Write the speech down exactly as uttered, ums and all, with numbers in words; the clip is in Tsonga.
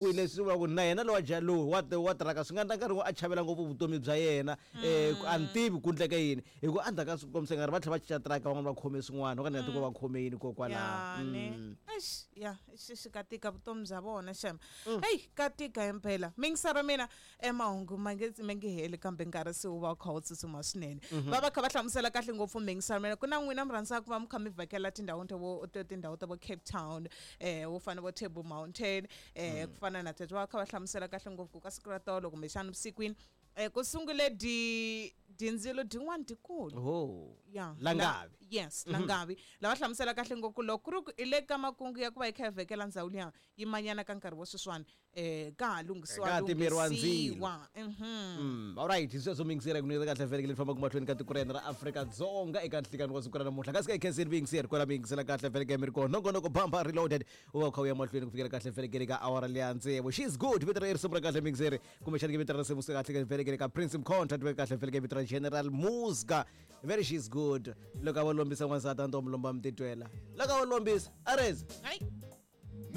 Leswi vulaka ku na yena lowa ja lowu wa wa tirhaka swi nga endla nkarhi a chavela ngopfu vutomi bya yena um a ni tivi ku ndleke yini hi ku endzhaku ka swi kombisa ngari va tlhela va cinca tiraka van'wana va khome swin'wana o ka ni nga tivi ku va khome yini kokwalaho. Ya ne eish ya xi xi ka tika vutomi bya vona xem. Heyi ka tika himpela mingisara mina e mahungu ma nge ma nge heli kambe nkarhi se wu va wu kha wu tsutsuma swinene. Va va kha va hlamusela kahle ngopfu mingisara mina ku na n'wina mi rhandzaka ku va mi kha mi vhakela tindhawu ta vo tindhawu ta vo Cape Town eh wo fana vo Table Mountain eh ku fana na teto va kha va hlamusela kahle ngopfu ku ka siku ra tolo kumbexana vusikwini eh ku sungule di dindzilo din'wana dikulu. Oh. Ya. Langavi. La, yes, langavi. Lava hlamusela kahle ngopfu loko ku ri ku i le ka makungu ya ku va yi kha yi vhekela ndzhawu liya yi manyana ka nkarhi wa sweswiwani eh ka ha lunghisiwa Ka ha timeriwa ndzilo. lunghisiwa. Mhm. Mm, alright hi sweswo miyingiseri ku nyika kahle vhele leyi fambaka mahlweni ka tiko ra hina ra Afrika-Dzonga eka nhlikani wa siku ra namuntlha kasi ka hi khenseni vuyingiseri kwala mi yingisela kahle vhele mi ri kona nongonoko bamba reloaded u va u kha u ya mahlweni ku fikela kahle vhele ka awara leya tsevu. She's good vito ra risimu ra kahle miyingiseri kumbexana ke vito ra risimu kahle vhele ka Prince Mkhonta tive kahle vhele vito ra General Muzka very she's good loko a va lombisa n'wansati a ni to mu lomba mi titwela loko a va lombisa arezi Hayi.